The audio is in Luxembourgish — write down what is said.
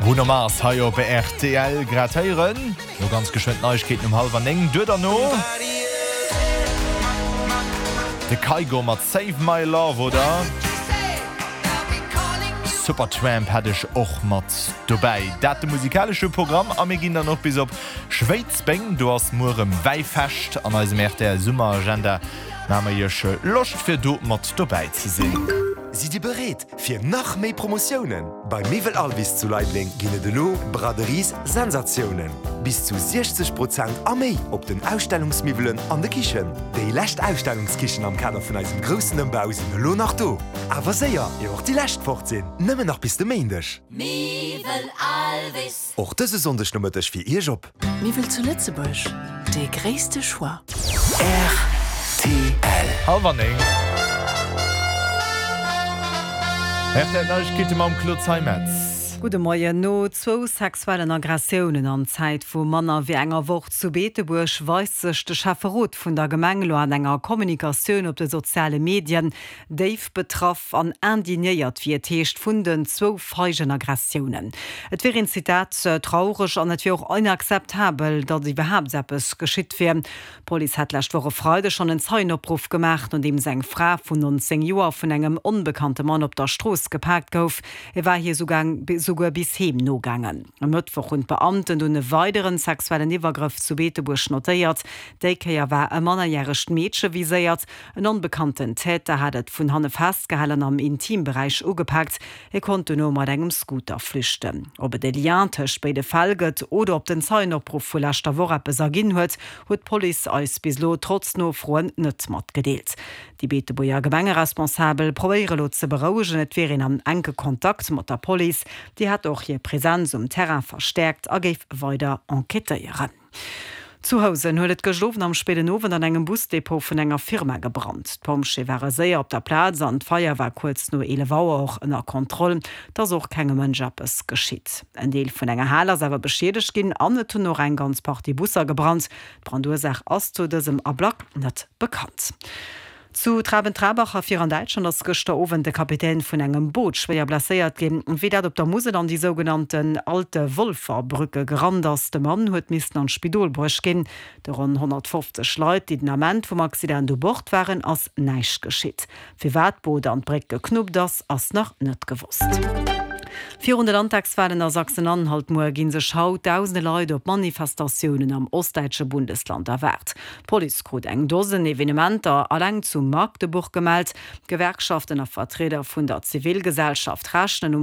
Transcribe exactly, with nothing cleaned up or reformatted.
Bruno Mars hei op R T L grad héieren. No ganz geschwënn Neiegkeeten um hallwer néng. Duer derno de Kygo mat Save My Love oder Supertramp hat ech och mat dobäi. Dat de musikalesche Programm a mir ginn dann och bis op Schwéidsbeng. Do ass muer erëm Wäifescht. An eisem R T L Summeragenda maache mir iech Loscht fir do mat dobäi ze sinn. Sidd Dir bereet fir nach méi Promotiounen? Bei Miwwel Alvis zu Leideleng ginn et elo Braderies Sensatiounen. Bis zu siechzeg Prozent a méi op den Ausstellungsmiwwelen an de Kichen. Déi lescht Ausstellungskichen am Kader vun eisem groussen Ëmbau sinn elo nach do. Awer séier, ier och déi lescht fort sinn. Nëmmen nach bis de Méindeg. Miwwel Alvis. Och dëse Sonndeg Nomëtteg fir Iech op. Miwwel zu Lëtzebuerg, de gréisste Choix. R T L. Hallwer néng. R T L Neiegkeete mam Claude Zeimetz. Gudde Moien. No zwou sexuellen Aggressiounen an Zäit vu manner wéi enger Woch zu Beetebuerg weist sech de Schäfferot vun der Gemeng lo an enger Kommunikatioun op de soziale Medien déif betraff an indignéiert, wéi et heescht, vun den zwou feigen Aggressiounen. Et wier een, Zitat, traureg an et wier och inakzeptabel, datt iwwerhaapt eppes geschitt wier. D'Police hat lescht Woch e Freideg schonn en Zeienopruff gemaach, nodeems eng Fra vun nonzéng Joer vun engem onbekannte Mann op der Strooss gepaakt gouf. E war hir souguer bis heem nogaangen. E Mëttwoch hunn d'Beamten dunn e weideren sexuellen Iwwergrëff zu Beetebuerg notéiert. Déi Kéier war e mannerjäregt Meedche viséiert. En onbekannten Täter hat et vun hanne festgehalen an am Intimberäich ugepaakt. E konnt duerno mat engem Scooter flüchten. Ob et e Lien tëscht béide Fäll gëtt oder ob den Zeienopruff vu leschter Woch eppes erginn huet, huet d'Police eis bis elo trotz Nofroen net matgedeelt. Déi Beetebuerger Gemengeresponsabel probéiere lo ze berouegen, et wier een am enke Kontakt mat der Police. Déi hätt och hir Presenz um Terrain verstäerkt a géif weider enquêtéieren. Zu Housen huet et gëschter Owend am spéiden Owend an engem Busdepot vun enger Firma gebrannt. D'Pompjeeë ware séier op der Plaz an d'Feier war kuerz no eelef Auer och ënner Kontroll. Et ass och kengem Mënsch eppes geschitt. En Deel vun enger Hal ass awer beschiedegt ginn an et hunn och eng ganz Partie Busser gebrannt. D'Brandursaach ass zu dësem Ablack net bekannt. Zu Traben-Trarbach a vir an Däitschland ass gëschter Owend de Kapitän vun engem Boot schwéier blesséiert ginn. Wéi dat op der Musel an déi sougenannten Alte Wolferbrücke gerannt ass. De Mann huet missen an d'Spidol bruecht ginn. De ronn honnertfofzeg Leit, déi den Ament vum Accident u Bord waren, ass näischt geschitt. Firwat d'Boot an d'Bréck geknuppt ass, ass nach net gewosst. Virun de Landtagswalen a Sachsen-Anhalt muer ginn sech haut dausende Leit op Manifestatiounen am ostdäitsche Bundesland erwaart. D'Police krut eng Dosen Evenementer eleng zu Magdeburg gemellt. Gewerkschaften a Vertrieder vun der Zivilgesellschaft rechnen um